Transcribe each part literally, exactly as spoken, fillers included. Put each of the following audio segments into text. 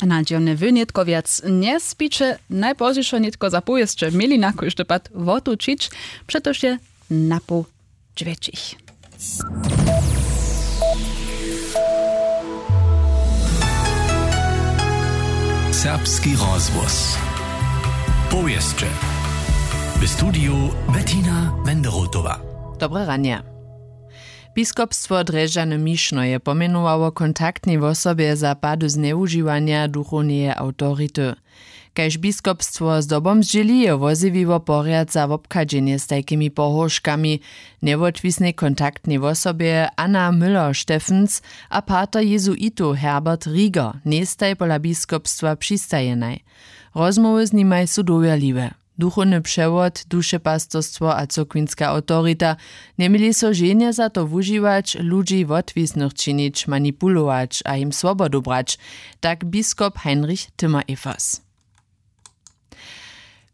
Na dźěwne wy nětko wjac njespiće, najpozdźišo nětko za powěsće měli na kóždy pad wotućić, přetož je napoł dźwjećich. Serbski rozhłos. Powěsće. W studiju Bettina Wenderotowa. Dobre ranje. Biskopstwo drježdźany mišno je pomjenowało kontaktnej wosobje za pady znjewužiwanja duchowneje awtority. Kaž biskopstwo zdobom zdźěli, je wozjewiło porjad za wobchadźenje z tajkimi pohórškami, njewotwisnej kontaktnej wosobje Anna Müller-Steffens a pater jezuitow Herbert Rieger, njejstaj pola biskopstwa přistajenaj. Rozmołwy z nimaj su dowěrliwe. Duchowny přewod, dušepastorstwo a cyrkwinska awtorita njeměli so ženje za to wužiwać, ludźi wotwisnych činić, manipulować a jim swobodu brać, tak biskop Heinrich Timmer-Evers.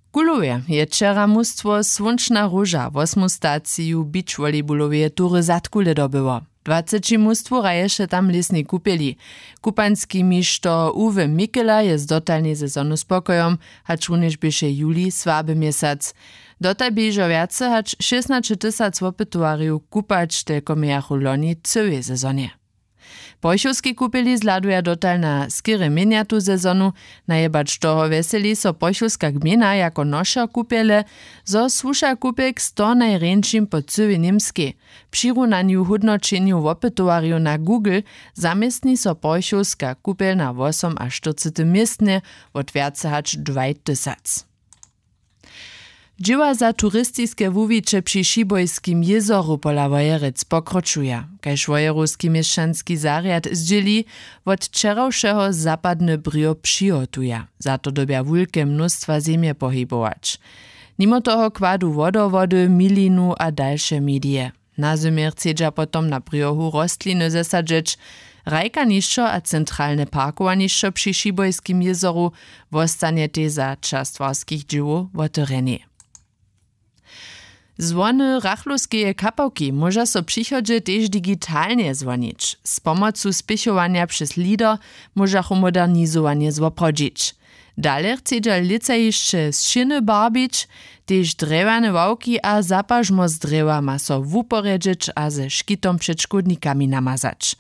W Kulowje je wčera mustwo Słónčna róža wosmu staciju beachvolleyballoweje tury Zadkule dobyło. Dwaceći mustwow hraješe tam w lěsnej kupjeli. Kupanski mišto Uwe Mikela je z dotalnej sezonu spokojom, hačrunjež běše juli słaby měsac. Dotal bě hižo wjace hač šěsnaće tysac wopytowarjow kupać, telko mějachu loni w cyłej sezonje. W pochowskej kupjeli zhladuja dotal na skerje měnjatu sezonu. Najebać toho wjeseli so pochowska gmejna jako nošer kupjele, zo słuša kupjel k sto najrjeńšim po cyłej Němskej. W přirunanju hódnoćenju wopytowarjow na Google zaměstni so pochowska kupjel na wosomaštyrcetym městnje wot wjace hač dwaj tysac. Dźěła za turistiske wuwiće při Šibojskim jězoru pola Wojerec pokročuja. Kaž wojerowski měšćanski zarjad zdźěli, wot wčerawšeho zapadny brjo přihotuja. Za to dyrbja wulke mnóstwa zemje pohibować. Nimo toho kładu wodowody, milinu a dalše medije. Na zymje chcedźa potom na brjohu rostliny zesadźeć. Hrajkanišćo a centralne parkowanišćo při Šibojskim jězoru wostanjetej za čas twarskich dźěłow wotewrjenej. Zwony Rachlowskeje kapałki móža so w přichodźe tež digitalnje zwonić. Z pomocu spěchowanja přez LEADER móžachu modernizowanje zwoprawdźić. Dale chcedźa lětsa hišće sćěny barbić, tež drjewjane ławki a zapažmo z drjewa ma so wuporjedźeć a ze škitom před škódnikami namazać.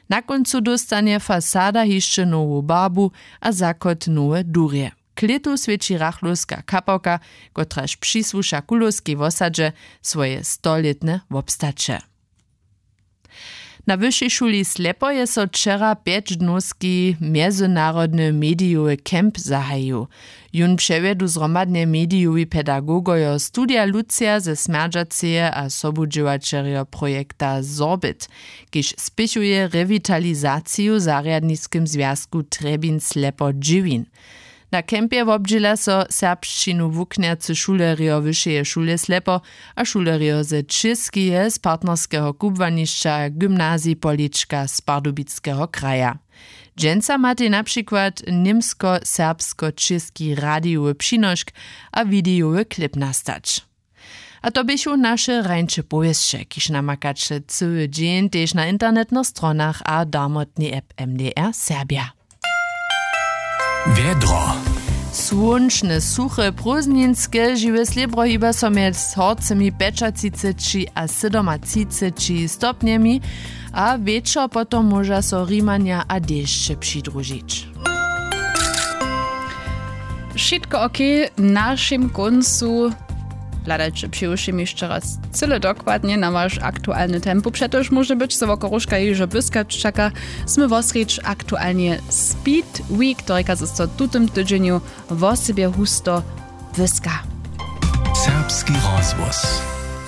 Na kóncu dóstanje fasada hišće nowu barbu a zakhod nowe durje. K lětu swěći Rachlowska kapałka, kotraž přisłuša Kulowskej wosadźe, swoje stolětne wobstaće. Na Wyšej šuli Slepo je so wčera pjećdnowski mjezynarodny medijowy camp zahajił. Jón přewjedu zhromadnje medijowi pedagogojo Studija Lucija ze Smjerdźaceje a sobudźěłaćerjo projekta Sorbit, kiž spěchuje rewitalizaciju w zarjadniskim zwjazku Trjebin Slepo Dźěwin. Na campje wobdźěla so serbšćinu wuknjacy šulerjo Wyšeje šule Slepo a šulerjo ze Čěskeje z partnerskeho kubłanišća Gymnazij Polička z Pardubickeho kraja. Dźensa matej na přikład němsko-serbsko-čěski radijowy přinošk a widejowy klip nastać. A to běchu naše rańše powěsće, kiž namakaće cyły dźeń tež na internetnych stronach a darmotnej app M D R Serbja. Wjedro. Słónčne, suche, prózdninske, žiwe slěbro hiba so mjez horcymi pjećatřiceći a sydomatřiceći stopnjemi a wječor potom móža so rimanja a dešće přidružić. Wšitko ok. W našim kóncu hladajće přiwšěm hišće raz cyle dokładnje na waš aktualny tempo, přetož móže być, zo woko róžka hižo błyskać čaka. Smy wosrjedź aktualnje Speed Week, to rěka, zo so w tutym tydźenju wosebje husto błyska. Serbski rozhłos.